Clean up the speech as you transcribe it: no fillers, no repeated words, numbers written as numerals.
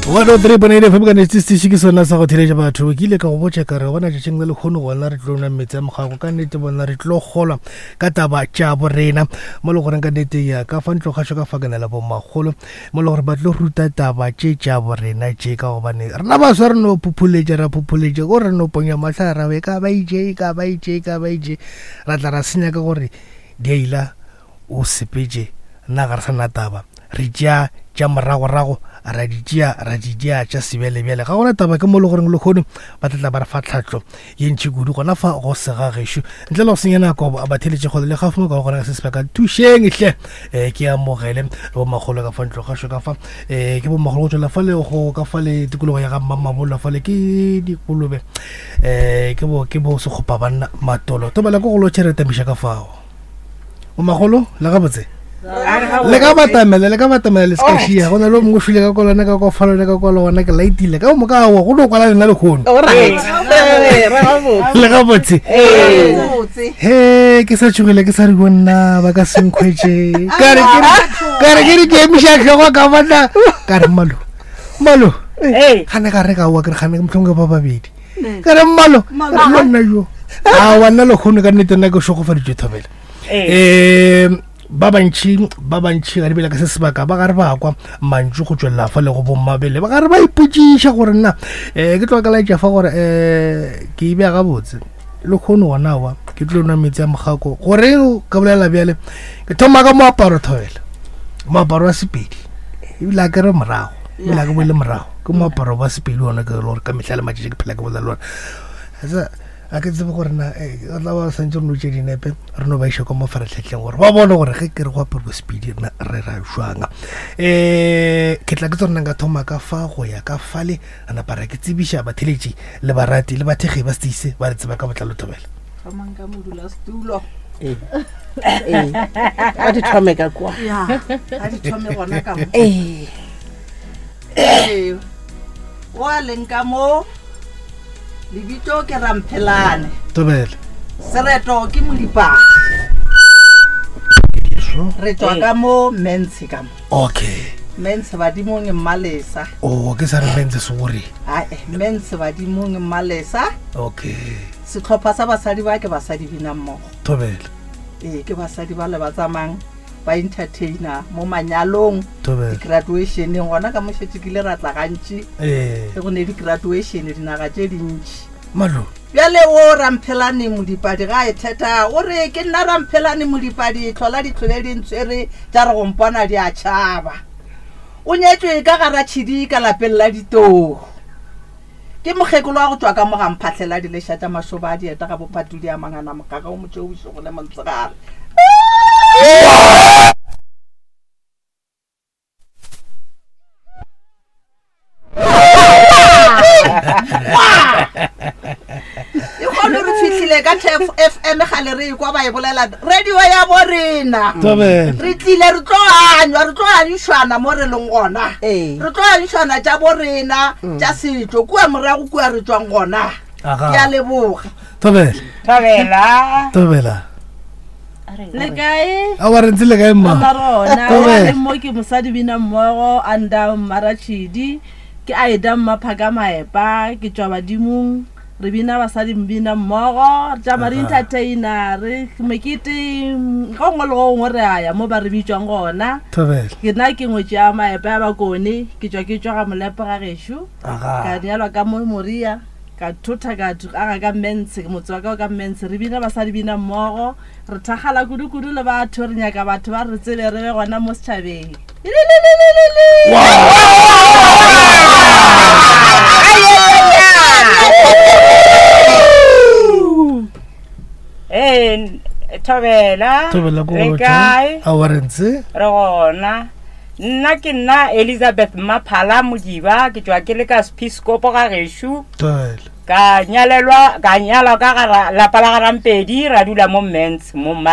103.8 FM ka netse setiši ke sona sa go theletša batho ke ile ka go botša ka re gona tšatšing le lekgono gona re tlo nwa meetse a mogago ka nnete bona re tlo kgolwa ka taba tša borena mo le goreng ka nnete ya ka fa ntlo kgašo ka fa ke na le bomagolo mo le gore ba tlo ruta taba tše tša borena tše ka gobane rena baswa re no phuphuletša ra phuphuletša ko re no ponya mahla ra e ka ba itše e ka ba itše e ka ba itše ra tla ra senya ka gore di a ila o sepetše nna ga re sa na taba re tšea tša moragorago ra di tšea ra di tšea tša sebjalebjale ga gona taba ke mo le goreng lehono ba tlatla ba re fa tlhatlo ye ntšhi kudu gona fa go sega gešo ntle le go senya nako ba theletše kgole le gaufi mo ka gona ka se sebaka thušeng hle um ke amogele le bomagolo ka fa ntlo gašo ka fa um ke bomagolo go tswela fa le go ka fa le tikologo ya ga mmamabola fa le ke dikolobe um ke bo ke bo sekgopa banna matolo tobela ko go lo tšhere tamiša ka fao o magolo le gabotse le ka batamela le ka batamela le seka šia go na le o mongwe o šwile ka kolone ka kofalone ka kwalo gona ke laitile ka moka awa go no kwala lena lekgono le gabotse he ke sa tšhogile ke sa re go nna ba ka senkgwetse kare ke re ke emiša tlhogo ka bona ka re mmalo mmalo gane ga re ka oa ke re gane motlhongwe ba babedi ka re mmalo re nna jo a wa nna lekgono ka nnete nna ke šogofaditšwe thobela um ba bantšhi ba bantšhi ga di bele ka se sebaka ba gare ba kwa mantšu go tswelela fa le go bommabele ba gare ba ipotsiša gore nna um ke tlo ka laetša fa gore um ke e bea gabotse le kgono gona wa ke tlo nwa metsi a mogako goreng ka bolela bjale ke thoma ka moaparo thobela moaparo wa sepedi ebile a kere morago ebile a ke boele morago ke moaparo wa sepedi ona ke le gore ka mehla le matšatši ke phela ke bolela le ona a ke tsebe gore na eh, re tla ba santse re no tše dinepe re no ba iša kwa mafaratlhatlheng gore ba bone gore ge ke re go aparo sepedi rena re ra jwang um ke tla ke tsone nka thoma ka fa go ya ka fale a napa ra ke tsebiša batheletši le barati le bathekgi ba seteise ba re tseba ka botlalo thobela thomang ka modulasetulo ee ee a di thome ka kwa ya a di thome gona ka mo ee Ee, o a leng ka mo lebitso ke ramphelane tobele sereto ke modipana re tswa ka mo mentshe ka mo okay mentshe badimong mmalesa o ke sa re mentshe sorry ae mentshe badimong mmalesa okay setlhopha sa basadi ba ke basadi bina mmogo tobele ee ke basadi ba le ba tsamayng ba entertainer mo manyalong di-graduationeng gona ka mošetše kile ra tla gantši ee. ge go ne di-graduation dinaga tše dintši malo bjale o ramphelane modipadi ga e theta o re ke nna ramphelane modipadi tlhola ditlhole di ntshwere tša re go mpona di a tšhaba o nyetšwe ka gara tšhidi ka lapeng la ditoo Ke mokgekolo wa go tšwa ka mo ga Mphahlele a dileša tša mašoba a dieta ga bophatudi a mangana mogaga o motšeo bošego le montsegare. E kgone re fihlile ka tfm gale re ekwa ba e bolela radio ya bo rena Thobela. re tlile re tlo anywa re tlo anyšwana mo re leng gona Ee. re tlo anyšwana tša bo rena tša setšo kua morago kua re tšwang gona Aga. ke a leboga Thobela. Thobela. Thobela. le kae A wa re ntse le kae mma? Mma rona Thobela. le mo ke mosadi bina mmogo anda mmaratšhidi ke aida mmaphaka maepa ke tšwa badimong Re bina basadi mbina mmogo, re tšama re entertaina, re mekete go nngwe le go nngwe re a ya mo ba re bitšwang gona. Thobela. Ke nna ke ngwetši ya Maepa ya Bakone, ke tšwa ke tšwa ga Molepo ga gešo. Aga. Ka nyalwa ka mo Moria, ka thotha ka aga ka Mmentshe, motse wa ka o ka Mmentshe. Re bina basadi bina mmogo, re thakgala kudu-kudu le batho, re nyaka batho ba re tsebe re be gona mo setšhabeng. Ee, thobela Thobela ko re kae a wa re ntse re gona nna ke nna elizabeth mmaphala modiba ke tšwa ke le ka sepiskopo ga gešo thobela ka nyalelwa ka nyalwa ka gara lapa la garampedi ra dula mo mens mo mma.